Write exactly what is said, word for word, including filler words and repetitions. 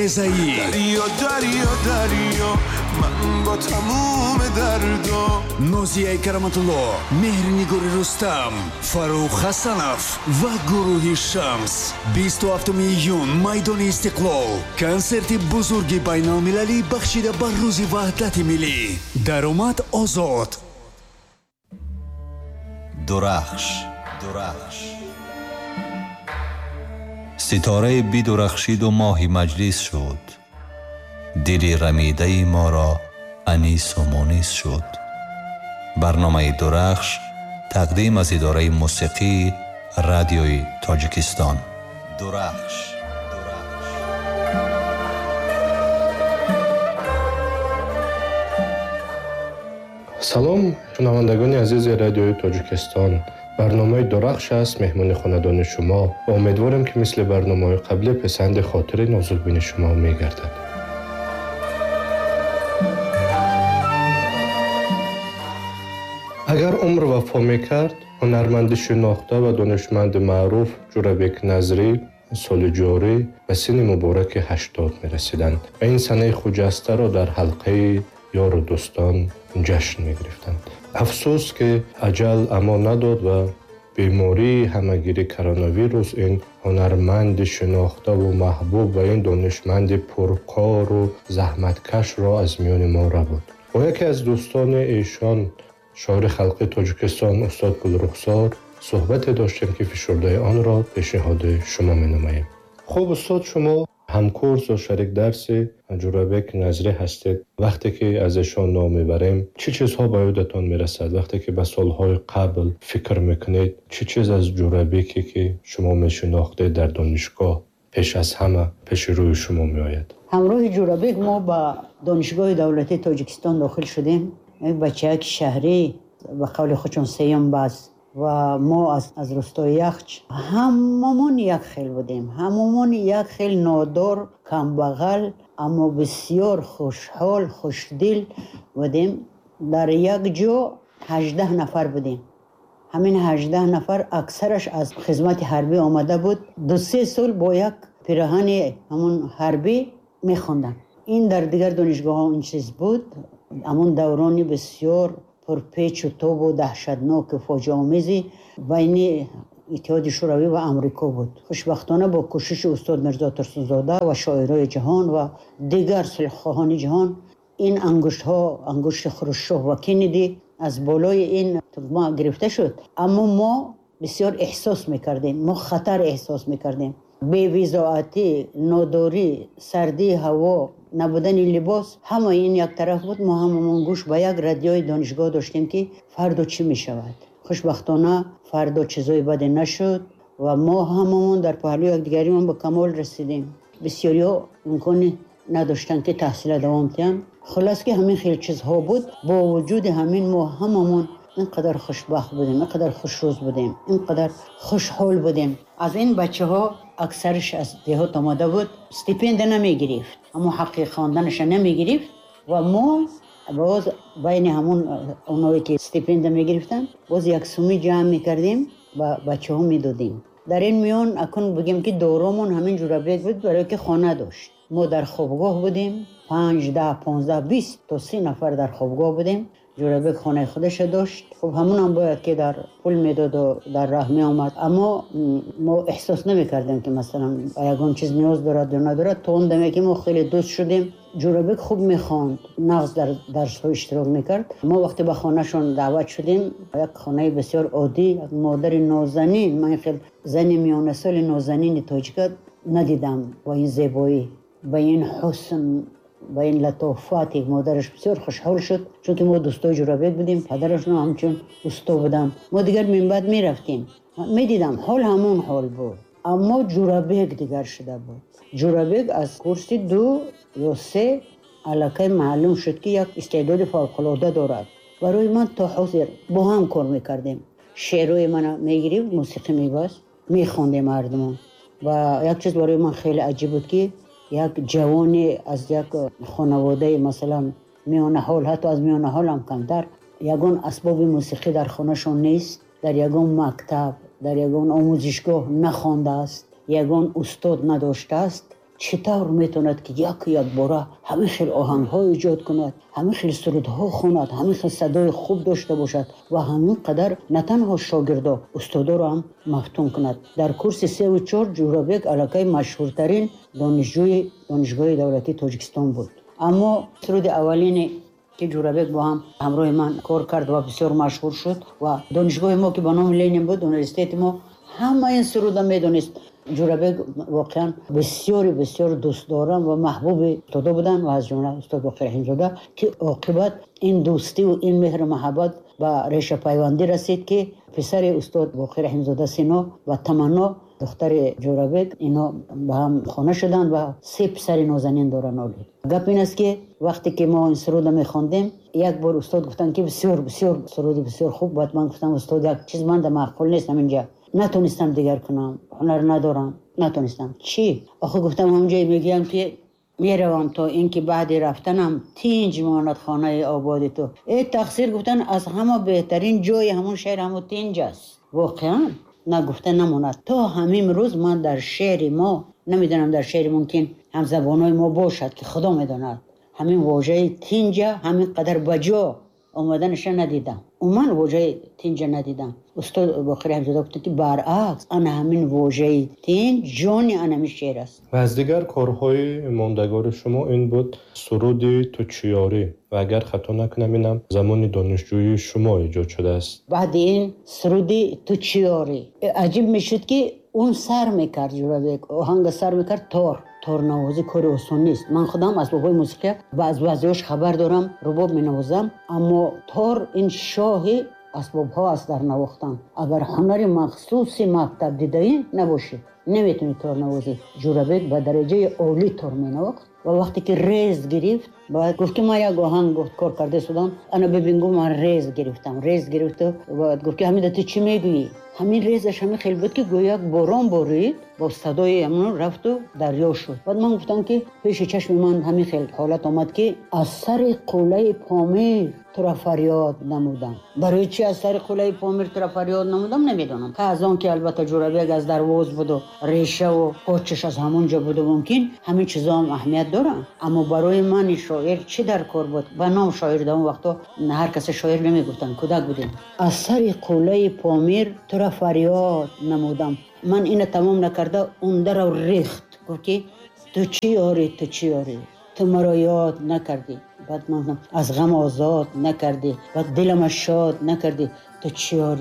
Резаӣ. Дарё, дарё, дарё, ман бо тамоми дардо. Нозияи Кароматулло, Меҳрнигори Рустам, Фаррух Ҳасанов ва гурӯҳи Шамс. Бисту ҳафтуми июн, майдони Истиқлол. Консерти бузурги байналмилалӣ бахшида ба Рӯзи Ваҳдати Миллӣ. Даромад озод. Дурахш, дурахш. Ситораи бидурахшиду моҳи маҷлис шуд. Дили рамидаи моро анису мунис шуд. Барномаи Дурахш тақдим аз идораи мусиқии радиои Тоҷикистон. Дурахш. Салом, шунавандагони азизи радиои Тоҷикистон. Барномаи Дурахш аст меҳмони хонадони шумо ва умедворем, ки мисли барномаҳои қаблӣ писанди хотири нозукбини шумо мегардад. Агар умр вафо мекард, ҳунарманди шинохта ва донишманди маъруф Ҷӯрабек Назрӣ соли ҷорӣ ба синни мубораки ҳаштод мерасиданд ва ин санаи хуҷастаро дар ҳалқаи ёру дӯстон ҷашн мегирифтанд. Афсӯс, ки аҷал амон надод ва бемории ҳамагири коронавирус ин ҳунарманди шинохтаву маҳбуб ва ин донишманди пуркору заҳматкашро аз миёни мо рабуд. Бо яке аз дӯстони эшон, шоири халқи Тоҷикистон устод Гулрухсор, суҳбате доштем, ки фишурдаи онро пешниҳоди шумо менамоем. Хуб, устод, шумо ҳамкурс ва шарик дарси Ҷӯрабек Назрӣ ҳастед. Вақте ки аз эшон ном мебарем, чӣ чизҳо ба ёдатон мерасад? Вақте ки ба солҳои қабл фикр мекунед, чӣ чиз аз Ҷӯрабеке, ки шумо мешинохтед дар донишгоҳ, пеш аз ҳама пеши рӯи шумо меояд? Ҳамроҳи Ҷӯрабек мо ба Донишгоҳи давлатии Тоҷикистон дохил шудем. Як бачаяки шаҳрӣ, ба қавли худшон сеюм бас, ва мо аз, аз рустои Яхч. Ҳамамон як хел будем, ҳамамон як хел нодор, камбағал, аммо бисёр хушҳол, хушдил будем. Дар як ҷо ҳаждаҳ нафар будем. Ҳамин ҳаждаҳ нафар аксараш аз хизмати ҳарбӣ омада буд. Ду се сол бо як пираҳани ҳамон ҳарбӣ мехонданд. Ин дар дигар донишгоҳҳо ин чиз буд. Ҳамон даврони бисёр пурпечу тобу даҳшатноку фоҷиаомези байни Иттиҳоди Шӯравӣ ва Амрико буд. Хушбахтона бо кӯшиши устод Мирзо Турсунзода ва шоирои ҷаҳон ва дигар сулҳхоҳони ҷаҳон ин ангуштҳо, ангушти Хрушчов ва Кеннеди аз болои ин тугма гирифта шуд. Аммо мо бисёр эҳсос мекардем, мо хатар эҳсос мекардем. Бевизоатӣ, нодорӣ, сардии ҳаво, набудани либос, ҳама ин як тараф буд. Мо ҳамамон гӯш ба як радиои донишгоҳ доштем, ки фардо чӣ мешавад. Хушбахтона фардо чизои баде нашуд ва мо ҳамамон дар паҳлӯи якдигаримон ба камол расидем. Бисёриҳо имкони надоштанд, ки таҳсила давом диҳанд. Хуллас ки ҳамин хел чизҳо буд. Бо вуҷуди ҳамин мо ҳамамон ин қадар хушбахт будем, ин қадар хушрӯз будем, ин қадар хушҳол будем. Аз ин бачаҳо аксараш аз деҳот омада буд, стипендия намегирифт, ҳамон ҳаққи хонданаша намегирифт ва мо боз байни ҳамон оное ки стипендия мегирифтанд, боз як сумӣ ҷамъ мекардем ва бачаҳо медодем. Дар ин миён акун бигем, ки доромон ҳамин Ҷӯрабек буд, барое ки хона дошт. Мо дар хобгоҳ будем, панҷ, даҳ, понздаҳ, бист то си нафар дар хобгоҳ будем. Ҷӯрабек хонаи худаша дошт. Хуб, ҳамонам бояд ки дар пул медоду дар раҳ меомад, аммо мо эҳсос намекардем, ки масалан ба ягон чиз ниёз дорад ё надорад. То он даме ки мо хеле дӯст шудем. Ҷӯрабек хуб мехонд, нағз дар дарсҳо иштирок мекард. Мо вақте ба хонашон даъват шудем, як хонаи бисёр оддӣ, як модари нозанин. Ман хел зани миёнасоли нозанини тоҷика надидам бо ин зебоӣ, ба ин ҳусн, ба ин латофат. Модараш бисёр хушҳол шуд, чунки мо дӯстои Ҷӯрабек будем, падарашон ҳамчун усто буданд. Мо дигар минбаъд мерафтем, медидам ҳол ҳамон ҳол буд, аммо Ҷӯрабек дигар шуда буд. Ҷӯрабек аз курси ду ё се аллакай маълум шуд, ки як истеъдоди фавқулода дорад. Барои ман то ҳозир бо ҳам кор мекардем. Шеърҳои мана мегирифт, мусиқӣ мебаст, мехондем мардумон. Ва як чиз барои ман хеле аҷиб буд, ки як ҷавоне аз як хонаводаи масалан миёнаҳол, ҳатто аз миёнаҳол ҳам камтар, ягон асбоби мусиқӣ дар хонашон нест, дар ягон мактаб, дар ягон омӯзишгоҳ нахондааст, ягон устод надоштааст, Чӣ тавр метавонад ки яку якбора ҳамин хел оҳангҳо эҷод кунад, ҳамин хел сурудҳо хонад, ҳамин хел садои хуб дошта бошад ва ҳамин қадар на танҳо шогирдо, устодоро ҳам мафтун кунад. Дар курси севу чор Ҷӯрабек аллакай машҳуртарин донишҷӯи Донишгоҳи давлатии Тоҷикистон буд. Аммо суруди аввалине ки Ҷӯрабек бо ҳам ҳамроҳи ман кор кард ва бисёр машҳур шуд ва донишгоҳи мо ки ба номи Ленин буд, университети мо, ҳама ин суруда медонист. Ҷӯрабек воқеан бисёри бисёр дӯстдорам ва маҳбуби устодо буданд ва аз ҷумла устод Боқир Раҳимзода, ки оқибат ин дӯстиву ин меҳру маҳаббат ба решапайвандӣ расид, ки писари устод Боқир Раҳимзода Сино ва Таманно, духтари Ҷӯрабек, ино ба ҳам хона шуданд ва се писари нозанин доранд. Оли гап ин аст, ки вақте ки мо ин суруда мехондем, як бор устод гуфтанд, ки бисёр бисёр суруди бисёр хуб. Баъд ман гуфтам: «Устод, як чиз манда маъқул нест, ҳаминҷа натонистам дигар кунам, ҳунар надорам, натонистам». «Чӣ охи?» Гуфтам: «Ҳамҷое мегӯям, ки меравам, то ин ки баъди рафтанам тинҷ монад хонаи ободи ту». «Э, тақсир», гуфтан, «аз ҳама беҳтарин ҷои ҳамон шеър ҳамон тинҷ аст». Воқеан нагуфта намонад, то ҳамин рӯз ман дар шеъри мо намедонам, дар шеъри мумкин ҳамзабонҳои мо бошад, ки Худо медонад, ҳамин вожаи тинҷа ҳамин қадар ба ҷо омаданаша надидам. Умуман вожаи тинҷа надидам. Устод Боқир Раҳимзода гуфтанд, ки баръакс, ана ҳамин вожаи тинҷ ҷони ана ҳамин шеър аст. Ва аз дигар корҳои мондагори шумо ин буд суруди «Ту чиёрӣ» ва агар хато накунам, инам замони донишҷӯии шумо эҷод шудааст. Баъди ин суруди «Ту чиёрӣ» аҷиб мешуд, ки он сар мекард, Ҷӯрабек оҳанга сар мекард, тор. Торнавозӣ кори осон нест. Ман худам асбобҳои мусиқия ба аз баъзеҳош хабар дорам, рубоб менавозам, аммо тор ин шоҳи асбобҳо аст дар навохтан. Агар ҳунари махсуси мактаб дидаӣ набошӣ, наметавонӣ торнавозӣ. Ҷӯрабек ба дараҷаи олӣ тор менавохт ва вақте ки рез гирифт, баъд гуфт, ки ман як оҳанг, гуфт, кор карда судам, ана бибин, гуфт, ман рез гирифтам. Рез гирифту баъд гуфт, ки ҳамида ту чӣ мегӯӣ? Ҳамин резаш ҳамин хел буд, ки гӯё як борон борид, бо садои ҳамон рафту дарё шуд. Баъд ман гуфтам, ки пеши чашми ман ҳамин хел ҳолат омад, ки аз сари қуллаи Помир тура фарёд намудам. Барои чи аз сари қуллаи Помир тура фарёд намудам, намедонам. Аз он ки албатта Ҷӯрабек аз Дарвоз буду решаву почаш аз ҳамон ҷо буду, мумкин ҳамин чизоам аҳамият доранд. Аммо барои ман шоир чӣ дар кор буд? Ба ном шоир дар он вақто ҳар касе шоир намегуфтанд, кӯдак будем. Аз сари қуллаи Помир тура фарёд намудам. Ман ина тамом накарда, он дарав рехт, гуфт, ки ту чӣ ёрӣ, ту чӣ ёрӣ, ту маро ёд накардӣ. Баъд ман аз ғам озод накардӣ, баъд дилама шод накардӣ, ту чӣ ёрӣ?